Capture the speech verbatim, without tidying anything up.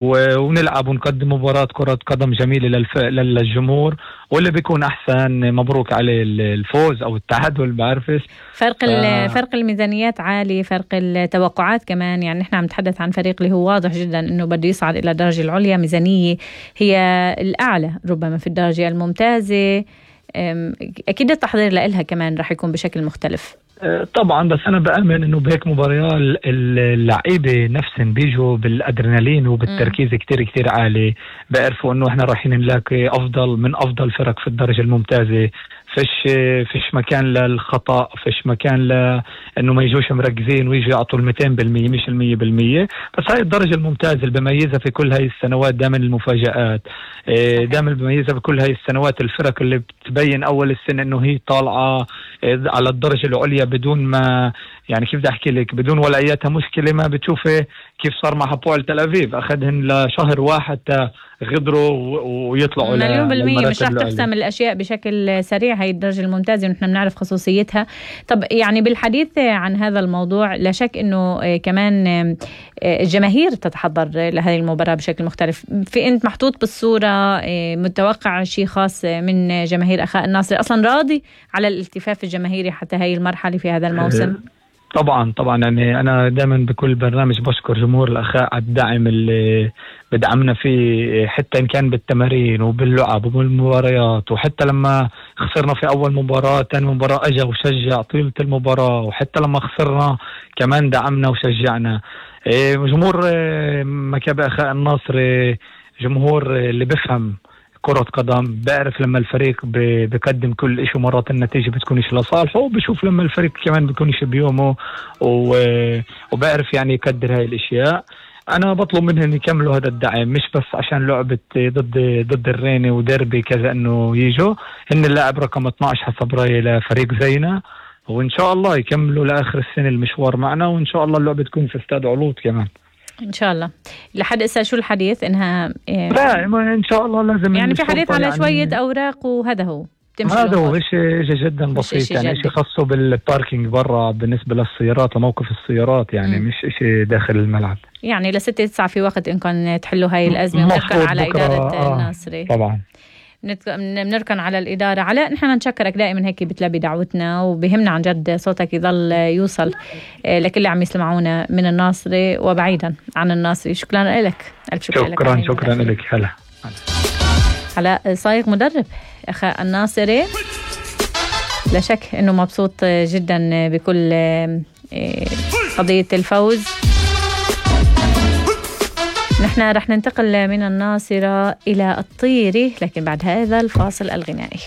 ونلعب ونقدم مباراة كرة قدم جميلة للف... للجمهور، واللي بيكون أحسن مبروك عليه الفوز أو التعادل، بعرفش. فرق ف... فرق الميزانيات عالي، فرق التوقعات كمان. يعني نحن عم نتحدث عن فريق اللي هو واضح جدا أنه بده يصعد إلى الدرجة العليا، ميزانية هي الأعلى ربما في الدرجة الممتازة. أكيد التحضير لها كمان رح يكون بشكل مختلف. طبعا، بس أنا بأمن إنه بهيك مباريات اللعيبة نفسهم بيجوا بالأدرينالين وبالتركيز كتير كتير عالي، بيعرفوا إنه إحنا رايحين نلاقي أفضل من أفضل فرق في الدرجة الممتازة. فيش فيش مكان للخطأ، فيش مكان لأنه ما يجوش مركزين ويجوا يعطوا المئتين بالمية مش المية بالمية. بس هاي الدرجة الممتازة اللي بميزها في كل هاي السنوات دائما المفاجآت، دائما بميزها في كل هاي السنوات الفرق اللي بتبين أول السنة إنه هي طالعة على الدرجة العليا بدون ما، يعني كيف بدي أحكي لك، بدون ولا أياتها مشكلة. ما بتشوفي كيف صار مع هابويل تل أبيب، أخذهن لشهر واحد غدروا ويطلعوا مليون بالمية. مش رح تحسم الأشياء بشكل سريع هاي الدرجة الممتازة، ونحن بنعرف خصوصيتها. طب يعني بالحديث عن هذا الموضوع، لا شك أنه كمان الجماهير تتحضر لهذه المباراة بشكل مختلف. في أنت محطوط بالصورة، متوقع شيء خاص من جماهير أخاء الناصر؟ أصلا راضي على الالتفاف الجماهيري حتى هاي المرحلة في هذا الموسم؟ طبعا طبعا، يعني أنا دائما بكل برنامج بشكر جمهور الأخاء على الدعم اللي بدعمنا فيه، حتى إن كان بالتمارين وباللعب وبالمباريات، وحتى لما خسرنا في أول مباراة تاني مباراة أجا وشجع طيلة المباراة، وحتى لما خسرنا كمان دعمنا وشجعنا. جمهور مكابي أخاء الناصر جمهور اللي بفهم كرة قدم، بعرف لما الفريق بيقدم كل إشي ومرات النتيجة بتكونش لصالحه، وبشوف لما الفريق كمان بيكونش بيومه، وبعرف يعني يقدر هاي الاشياء. انا بطلب منهم يكملوا هذا الدعم، مش بس عشان لعبة ضد ضد الريني وديربي كذا انه يجوا. هن اللاعب رقم اثناشر حسب رايي لفريق زينا، وان شاء الله يكملوا لاخر السنة المشوار معنا، وان شاء الله اللعبة تكون في استاد علوط كمان ان شاء الله. لحد هسه شو الحديث انها إيه؟ لا ان شاء الله لازم يعني في حديث على يعني شويه اوراق، وهذا هو هذا هو شيء جدا بسيط، يعني شيء خاصه بالباركينج برا بالنسبه للسيارات وموقف السيارات، يعني م. مش شيء داخل الملعب. يعني لستة تسعة في وقت انكم تحلوا هاي الازمه، ونركن على اداره آه الناصري. طبعا بنركن على الإدارة. علاء، نحن نشكرك دائما هيك بتلبي دعوتنا، وبهمنا عن جد صوتك يضل يوصل لكل اللي عم يسمعونا من الناصري وبعيدا عن الناصري. شكرا لك. شكرا شكرا, شكرا لك. هلا علاء صايغ مدرب أخاء الناصري، لا شك أنه مبسوط جدا بكل قضية الفوز. نحن رح ننتقل من الناصرة إلى الطيري، لكن بعد هذا الفاصل الغنائي.